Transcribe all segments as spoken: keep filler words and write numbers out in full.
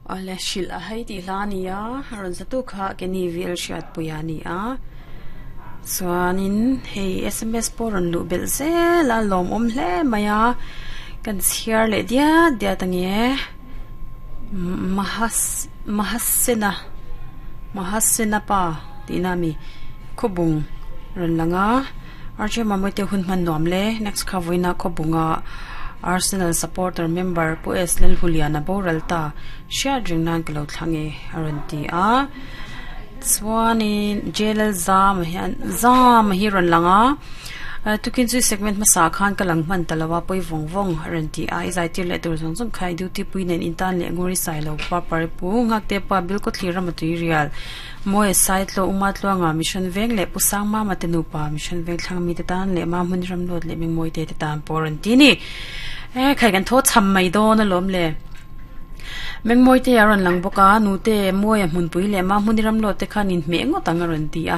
Ale shil a hei ti hla nia ron zatu kha keni vil hriat puia ni a chuanin hei S M S pawh rawn luh belh zel a lawm awm hle mai a kan chhiar leh diat diat ange mahas mahasena mahasena pa tihna mi khawbung rawn langa arche mamawite hun hman nuam le next kha vawiina khawbunga Arsenal supporter member pu S Lalhuliana Boralta hriat ring nan ka lo thlange a rawn ti a chuanin J L zam hian zam hi rawn langa tukin chu segment hmasa khan ka lang hman talawa poi vawng vawng a rawn ti a i zai tir leh tur zawng zawng kha i duty pui nen intan leh nguri sai lo pa pari pu ngak te pa bil ko thlir rama tui rial moi sai tlo uma tluanga mission veng leh pusang ma ma te nupa mission veng thlang mi te tan leh ma hmun ram lot leh ming moi te te tan por an ti ni e khai kan tho cham mai dawn a lawm le meng moi te aron lang boka nu te moi a hmun pui le ma hmun ram lot te khan in hme ngot ang aron ti a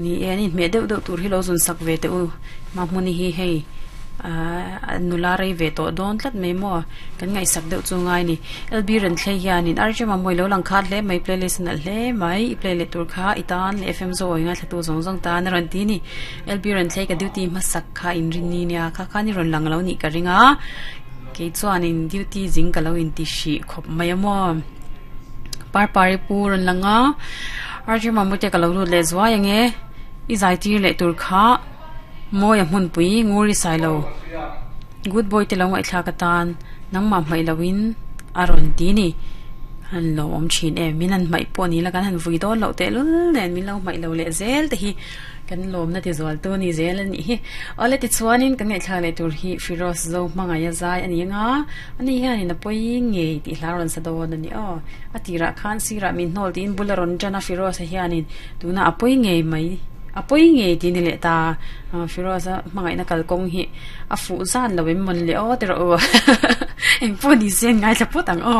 ni e ni hme deuh deuh tur hi lo zun sak ve te u ma hmun hi hei a nula rei ve to dawn tlat mai mo kan ngai sak deuh chu ngai ni L B ran thlei hianin arche ma moi lo lang khat hle mai playlist na hle mai i play le tur kha itan le F M zo oi nga thlatu zong zong ta na ron ti ni L B ran thlei ka duty ma sak kha in rin ni nia kha kha ni ron lang lo ni ka ringa ke chuanin duty jing ka lo in ti shi khop mai mo par pari pu ron langa arche ma mute ka lo lut le zwa yange i zai tir le tur kha moi a hmun pui nguri sai lo good boy te lo ngai thla ka tan nang ma mai lawin aron ti ni han lo om chin e min an mai pawh ni la kan han vui dawn lo te lul nen min lo mai lo le zel te hi kan lawm na ti zual tu ni zel ani hi ole ti chuanin kan ngai thla le tur hi Firoz zo hmanga ya zai ani nga ani hian in a poi nge ti hla ron sa dawn ani aw atira khan sira min hnol tin bularon jana Firoz hianin tuna apoi nge mai apoi nge ti ni le ta Firoz hmangai na kalkong hi a fu zan lawim mon le o tero o eng pu ni sen ngai thla put ang o.